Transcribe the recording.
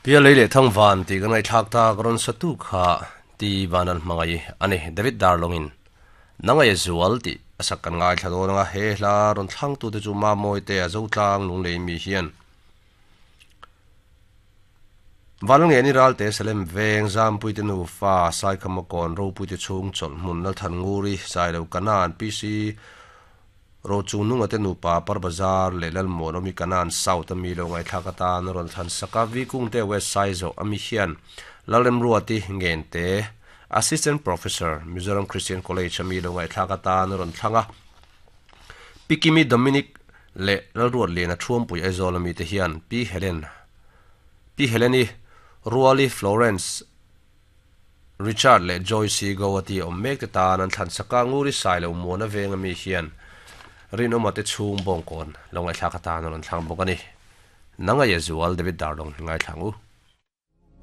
Pialei leh Thangvan tih kan ngaihthlak tak rawn satu kha Ti Vanal hmangaih a ni. David Darlawngin Nangaia Zual tih a sak kan ngaithla dawn anga he hla rawn thlangtute chu Mamawite a Zotlang Lunglei mi hian Vanlalngeni Ralte Salem Veng Zampuite nufa Saikhamakawn Ropuite chhung chawlh hmun Lalthannguri Sailo Kanan PC Rochung nunga te nupa Par Bazar leh Lalmuan awmi Kanan South ami lo ngaihthlak atan a rawn thlan sak a, Vikungte West Saizawh ami hian Lalremruati Ngente, Assistant Professor, Mizoram Christian College ami lo ngaihthlak atan a rawn thlang a, Pi Kimi Dominic leh Lalruatliana Thuampui Aizawl ami te hian Pi Helen Pi Heleni Ruali Florence Richard leh Joyce Gowati awm mek te tan an thlan sak a, Nguri Sailo Muana veng ami hian Rinawma te chhung bawngkawn lo ngaihthlak atan a rawn thlang bawk a ni. Nang aia zual David Darlong hi ngaithla ang u.